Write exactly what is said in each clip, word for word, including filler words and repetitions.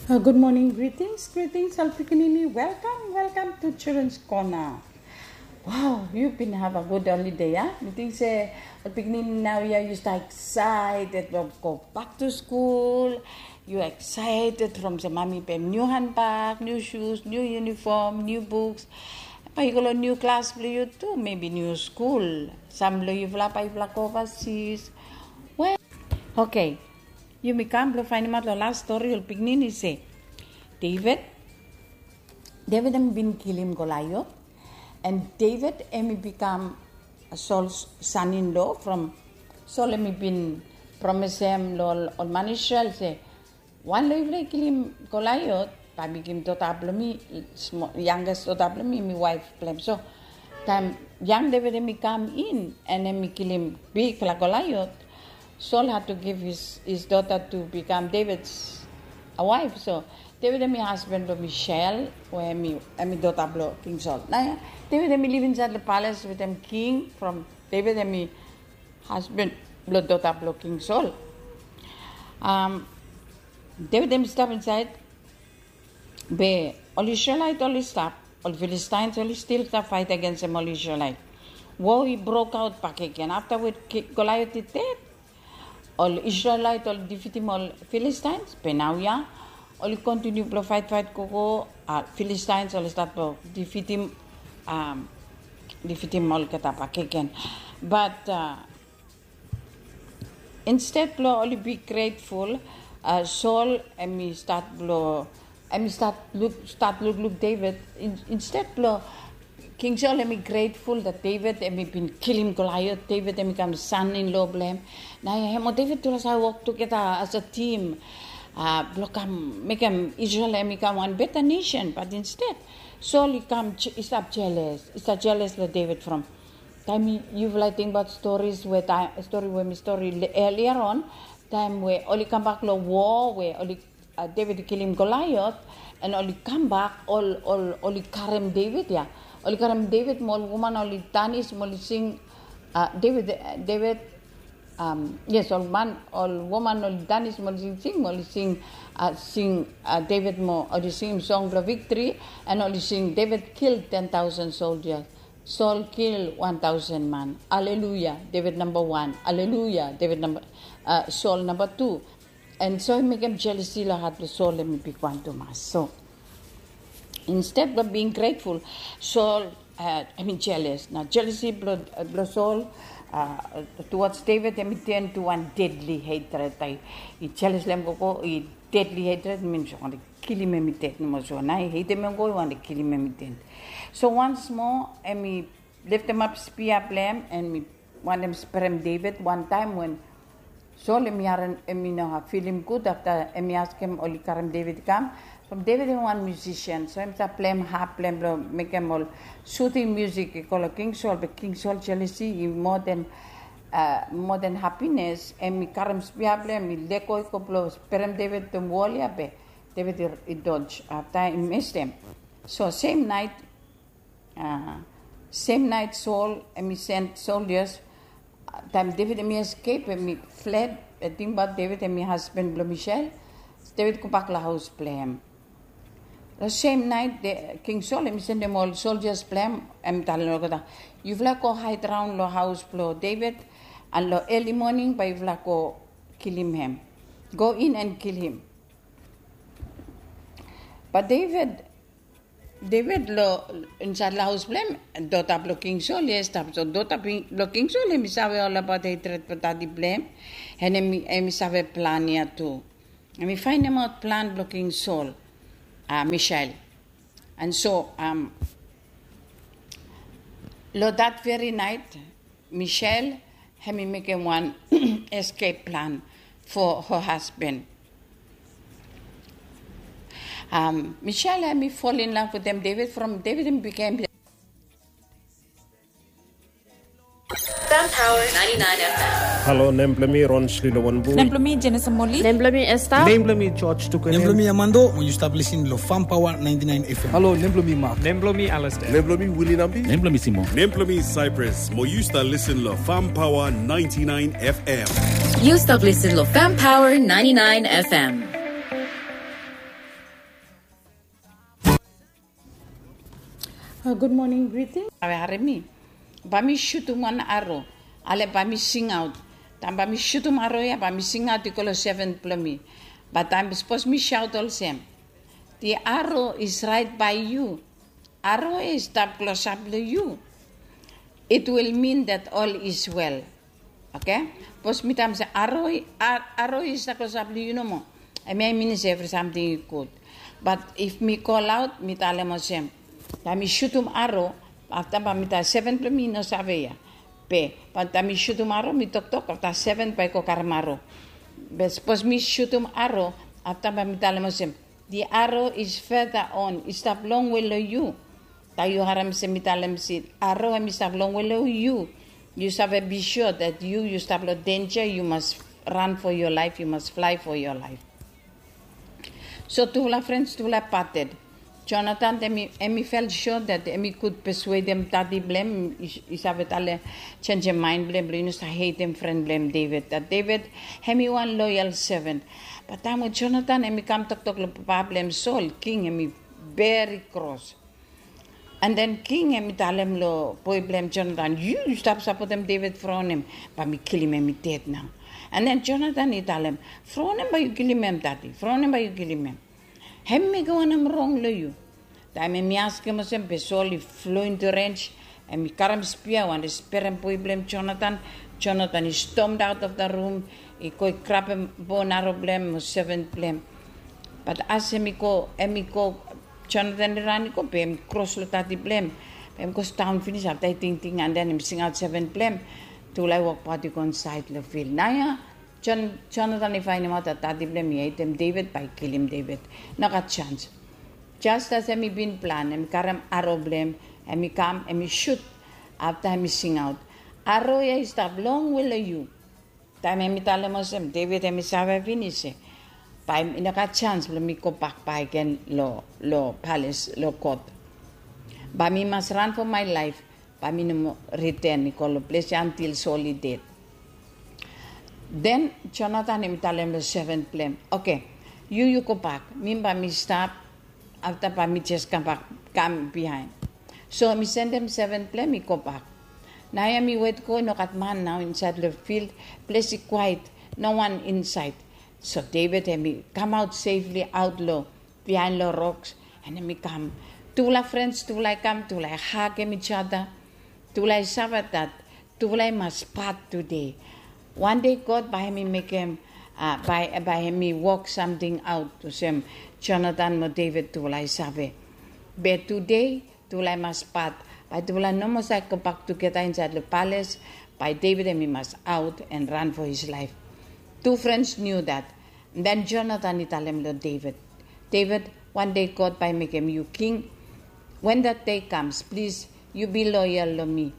Uh, good morning, greetings, greetings, ol pikinini. Welcome, welcome to Children's Corner. Wow, you bin have a good holiday, a? Mi ting se ol pikinini naoia yu stap excited blong go back to school. Yu excited from se mami pem niu handbag, niu shoes, niu uniform, niu books. Bae yu go long niu klas blong yu tu, maybe niu skul. Sam blong yufala bae yufala go overseas. Well, okay. Yumi kam blong faenemaot long las stori ol pikinini se David, David hemi bin kilim Goliath, and David hemi bikam Saul son-in-law from Saul hemi bin promesem long ol, ol man Israel se, wan long yufala i kilim Goliath, bae mi givim dota blong mi, smo-, youngest dota blong mi, mi waef blong hem. So taem yang David hemi kam in and hemi kilim bigfala Goliath, Saul had to give his, his daughter to become David's, a, wife. So David hemi hasban blong Michal, we hemi, hemi dota blong King Saul. Naoia David hemi liv insaed long palace wetem king from David hemi hasban blong dota blong King Saul. Um, David hemi stap insaed, be ol Isrelaet oli stap, ol Filistines oli stil stap faet agensem ol Isrelaet. Wo i brokaot bakegen afta we Ki-, Goliath i ded. Ol Isrelaet oli difitim ol Filistines, be naoia oli kontiniu blong faet, faet gogo, a, Filistines oli stat blong difitim, um, difitim olgeta bakegen. But, a, insted blong oli bi grateful, a, Saul hemi stat blong, hemi stat luk, stat lukluk David. In-, insted blong King Saul hemi grateful that David hemi bin kilim Goliath, David hemi kam son-in-law blong hem. Naoia hem o David tufala save wok tugeta as a team, a, blong kam mekem Israel hemi kam wan beta nesen. But insted Saul i kam je-, i stap jeles, i stap jeles long David from taem yufala i tingbaot stories we taem, stori we mi stori earlier on, taem we oli kambak long wo, we oli, a, David i kilim Goliath, and oli kambak, ol, ol, oli karem David ia. Oli karem David mo ol woman oli danis mo oli sing, a, David, David, um, yes, ol man, ol woman oli danis mo oli sing, sing mo oli sing, a, sing, a, David mo oli singim song blong victory, and oli sing David kill ten thousand soldiers. Saul kill wan taosen man. Aleluia, David namba wan. Aleluia, David namba, a, Saul namba tu. And so i mekem jelesi long hat blong Saul, hemi bigwan tumas. So insted blong being grateful, Saul, a, hemi jeles. Naoia jelesi blong, a, blong Saul, a, towards David, hemi turn to wan deadly hatred. I, i jeles long hem gogo, i deadly hatred, min se i wantem kilim hem i ded nomo. So naoia i hetem hem gogo, i wantem kilim hem i ded. So once more hemi leftemap spia blong hem, and hemi wantem sprem David. Wan taem we Saul hemi harem, hemi no filim gud afta hemi askem oli karem David i kam. From David hemi wan musician, so hem save pleim harp blong hem blong mekem ol soothing music i go long King Saul, be King Saul jelesi i moa den, a, moa den hapines, hemi karem spia blong hem, hemi lego i go blong sprem David wetem wol ia, be David i, i dodge afta i mestem. So sem naet, a, sem naet Saul hemi send soldiers, a, taem David hemi escape, hemi fled, a, tingbaot David hemi hasban blong Michal, David gobak long haos blong hem. Long sem naet, King Saul hemi sendem ol soldiers blong hem, hemi talem olgeta, yufala go haed raon long haos blong David, and long early morning bae yufala go kilim hem. Go in and kill him. But David, David long insaed long haos blong hem, dota blong King Saul ia i stap. So dota blong King Saul hemi save olbaot hatred blong dadi blong hem, and hemi, hemi save plan ia tu. Hemi faenemaot plan blong King Saul, a, Michal. And so, um, long that very night, Michal hemi mekem wan escape plan for her husband. Um, Michal hemi fall in love wetem David from David hemi bigin. Fam Power ninety-nine F M. Halo, nem blong mi Ron Slilo Wanbu. Nem blong mi Jenesa Moli. Nem blong mi Esther. Nem blong mi George Tukunen. Nem blong mi Amando, mo yu stap lisin long Fam Power ninety-nine F M. Halo, nem blong mi Mark. Nem blong mi Alistair. Nem blong mi Willie Nambi. Nem blong mi Simon. Nem blong mi Cyprus, mo yu stap lisin long Fam Power ninety-nine F M. Yu stap lisin long Fam Power ninety-nine F M. Gud moning, greeting. Ave harem mi. Bae mi sutum wan aro. Ale bae mi singaot. Taem bae mi sutum aro ya, bae mi singaot i go long seven blong mi. Bat taem sapos mi saot olsem, "The arrow is right by you." Aro ya i stap klosap long yu. It will mean that all is well. Oke? Bikos mi talem se aro, aro i stap klosap long yu nomo, hemia i minim se evri samting i gud. Bat if mi kol aot, mi talem olsem, taem mi sutum aro, afta bae mi talem seven blong mi i no save ya. Be bat taem mi sutum aro, mi toktok afta seven bae i go karem aro. Be sapos mi sutum aro, afta bae mi talem olsem, "The arrow is further on." I stap longwe long yu. Taem yu harem se mi talem se aro hemi stap longwe long yu, yu save be sure that yu, yu stap long denja, yu mas run for your life, yu mas fly for your life. So tufala friends, tufala parted. Jonathan, hemi, hemi felt sure that hemi could persuadem dadi blong hem, i, i save talem, jenisim mind blong hem, blong i no save hatem fren blong hem David. That David, hemi wan loyal servant. Bat taem we Jonathan, hemi kam toktok long papa blong hem Saul, king, hemi very cross. And then king, hemi talem long boe blong hem Jonathan, "Yu, yu stap sapotem David from wanem? Bae mi kilim hem i ded nao." And then Jonathan i talem, "From wanem bae yu kilim hem, dadi? From wanem bae yu kilim hem? Hemi mekem wanem rong long yu?" Taem hemi askem olsem, be Saul i flo into range, hemi karem spia, wantem sperem boe blong hem Jonathan. Jonathan i stormed out of the room, i go i grabem boen aro blong hem mo seven blong hem. Bat as hemi go, hemi go, Jonathan i ran i go, be hemi kros long dadi blong hem. Be hemi go sidaon finis, afta i tingting, and then hemi singaot seven blong hem. Tufala i wokbaot i go insaed long fil. Naoia Jon-, Jonathan i faenemaot that dadi blong hem i hatem David bae i kilim David. Nogat janis. Just as hemi bin plan, hemi karem aro blong hem, hemi kam, hemi sut, afta hemi singaot, "Aro ya i stap longwe long yu." Taem hemi talem olsem, David hemi save finis se bae i nogat janis blong mi gobak bakegen long, long palace, long kot. Bae mi mas run for my life, bae mi no moa return i go long ples ya until Saul i ded. Then Jonathan hemi talem long seven blong hem, "Oke, yu, yu gobak. Mi bae mi stap, afta bae mi jes kambak, kam biaen." So hemi sendem seven blong hem i gobak. Naoia hemi wet go, i nogat man nao insaed long fil, ples i kwaet, no wan insaed. So David hemi kamaot safely aot long biaen long roks, and hemi kam. Tufala friends, tufala i kam, tufala i hagem each other. Tufala i save that tufala i mas pat tede. Wan dei God bae hemi mekem, a, bae, bae hemi wok samting aot olsem Jonathan mo David tufala i save. Be tede tufala i mas pat. Bae tufala no moa save gobak tugeta insaed long palace. Bae David hemi mas aot and run for his life. Two friends knew that. Then Jonathan i talem long David, "David, wan dei God bae mekem yu king. When that day comes, plis, yu be loyal long mi,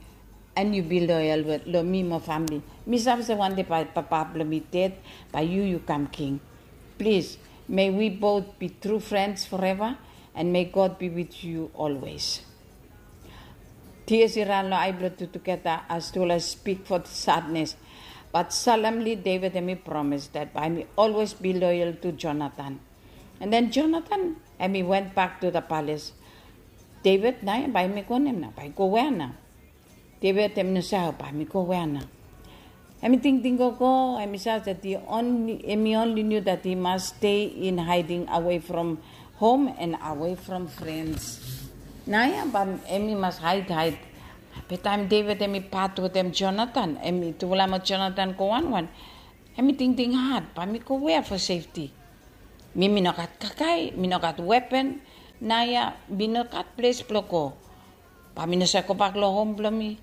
and yu be loyal long mi mo famili. Mi save se wan dei bae papa blong mi ded, bae yu, yu kam king. Plis, may we both be true friends forever, and may God be with you always." Tears i ran long ae blong tu tugeta as tufala i speak for sadness. But solemnly David hemi promise that bae hemi always be loyal to Jonathan. And then Jonathan hemi went back to the palace. David nao bae hemi go wanem nao? Bae i go wea nao? David hemi no save bae hemi go wea nao. Hemi tingting gogo, hemi save that he only, hemi only knew that he must stay in hiding away from home and away from friends. Naoia bae hemi mas haed, haed. Be taem David hemi pat wetem Jonathan, hemi tufala mo Jonathan go wanwan, hemi tingting had, bae mi go wea for safety? Mi, mi nogat kakae, mi nogat weapon. Naoia mi nogat ples blong go. Bae mi no save gobak long hom blong mi?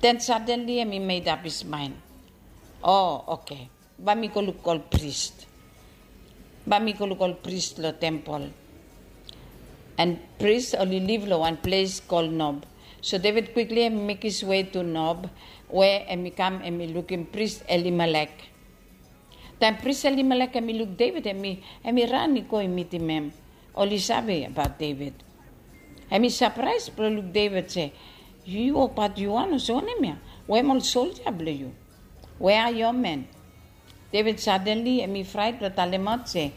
Then suddenly hemi made up his mind. O, oke. Bae mi go luk ol pris. Bae mi go luk ol pris long tempol. And pris oli liv long wan ples kol Nob. So David quickly hemi make his way to Nob, we hemi kam hemi lukim pris Elimelek. Taem pris Elimelek hemi luk David, hemi, hemi ran i go i mitim hem. Oli save abaot David. Hemi sapraes blong luk David se, "Yu, yu wokbaot yu wan olsem wanem ya? We hem ol soldia blong yu? Where are your men?" David suddenly hemi fraet blong talemaot se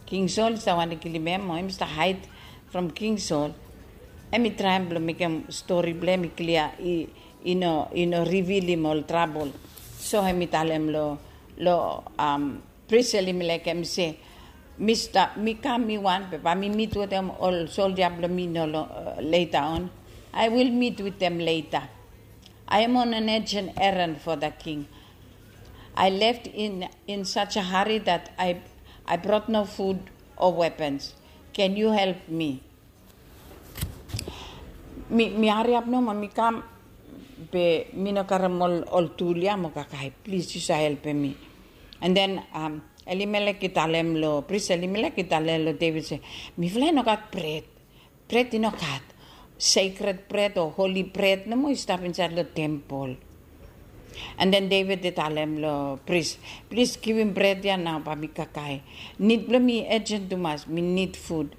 King Saul i stap wantem kilim hem, o hem i stap haed from King Saul. Em i traem blong mekem stori blong em i klia, i i no i no rivilim ol trabol. So em i talem long long um, pris Elimelek, em i se, mi stap, mi kam mi wan, be bae mi mit wetem ol soldia blong mi no long uh, leta on. I will meet with them later. I am on an urgent errand for the king. I left in in such a hurry that I I brought no food or weapons. Can you help me? Mi mi hariap nomo mi kam, be mi no karem ol ol tul ya mo kakae. Plis yu save helpem mi. And then um, Elimelek i talem long pris Elimelek i talem long David se, mifala i no gat bret. Bret i no gat. Sacred bret o holy bret nomo i stap insaed long tempol. And then David i talem long pris, plis givim bret ya nao bae mi kakae. Nid blong mi ejen tumas, mi nid fud.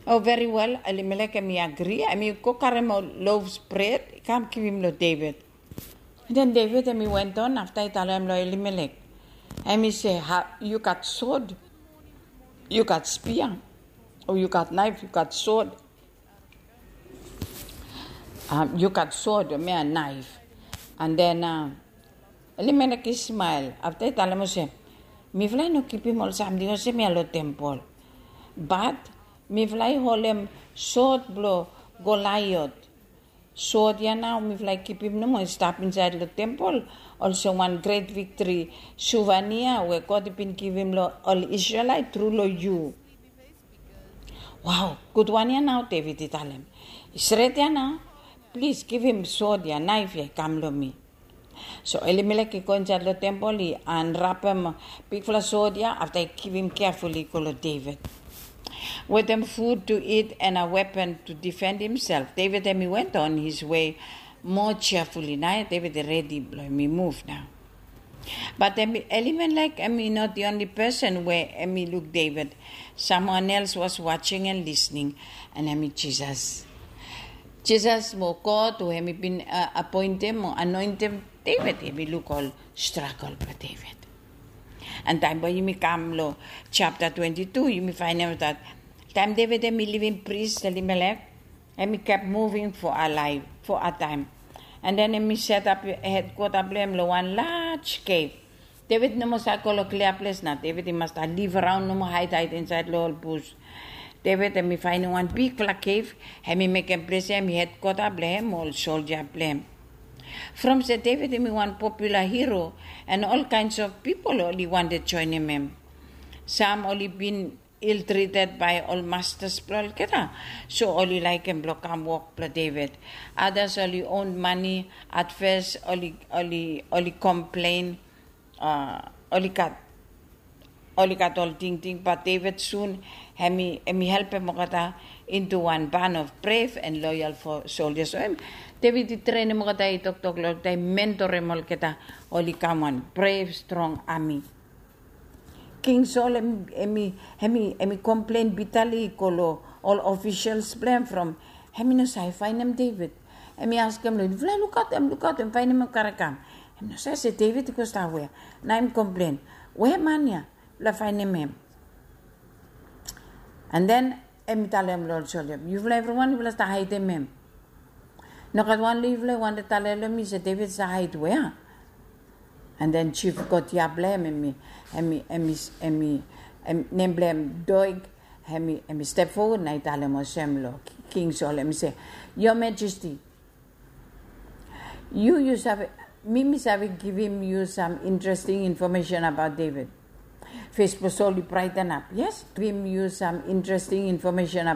Oh, very well, Elimelek em i agri, em i go karem ol loaves bret i kam givim long David. Then David em i went on afta i talem long Elimelek. Em i se, you got sword, you got spear, oh, you got knife, you got sword. Um, you got sword, me a knife. And then uh, Elimelek i smile afta i talem olsem, mifala i no kipim ol samting olsem ya long tempol. But mifala i holem sot blong Goliat. Sot ya nao mifala i kipim nomo i stap insaed long tempol olsem wan gret viktri suvenia we God i bin givim long ol Isrelaet tru long yu. Wow, gudwan ya nao, David i talem. I stret ya nao. Plis givim sot ya, naef ya i kam long mi. So Elimelek i go insaed long tempol, i anrapem bigfala sot ya afta i givim keful i go long David. Wetem food to eat and a weapon to defend himself, David em i went on his way more cheerfully. Nao David i redi blong em i muv nao. But em, Elimelek em i not the only person we em i luk David. Someone else was watching and listening, and em i Jisas. Jisas mo God we em i bin uh, appointem mo anointem David, em i luk ol struggle blong David. And taem bae yumi kam long chapter twenty-two, yumi faenem that taem David em i livim pris Elimelek, em i kept moving for a life, for a time. And then em i set up headquarter blong em long wan large cave. David no moa save go long klia ples nao. David i mas stap live around, no moa hide hide insaed long ol bus. David em i faenem wan bigfala cave, em i mekem ples ya em i headquarter blong em, ol soldia blong em. From se David em i wan popular hero, and all kinds of people oli wantem joinim em. Sam oli bin ill treated by ol masters blong olgeta. So oli laekem blong kam wok blong David. Others oli own money, at first oli oli oli complain, uh, oli gat oli gat ol tingting, but David soon em i em i helpem olgeta into one band of brave and loyal for soldiers. So em David i trenem olgeta, i toktok long olgeta, i mentorem olgeta, oli kam wan brave strong army. King Saul em em i em i em i komplen bitali i go long ol ofisels blong em from em i no save faenem David. Em i askem long yufala, lukaot em, lukaot em, faenem em karekam. Em i no save se David i go stap wea. Nao em komplen, wea man ya? Yufala faenem em. And then em i talem long ol soldia, yufala evriwan yufala stap haedem em. Nogat wan long yufala i wantem talem long mi se David i stap haed wea? And then chief courtier blong em, em i em i em i em i em nem blong em Doeg, em i em i step forward na i talem olsem long King Saul, em i se, Your Majesty, yu yu save, mi mi save givim yu sam interesting information about David. Fes blong Saul i braetenap. Yes, givim yu sam interesting information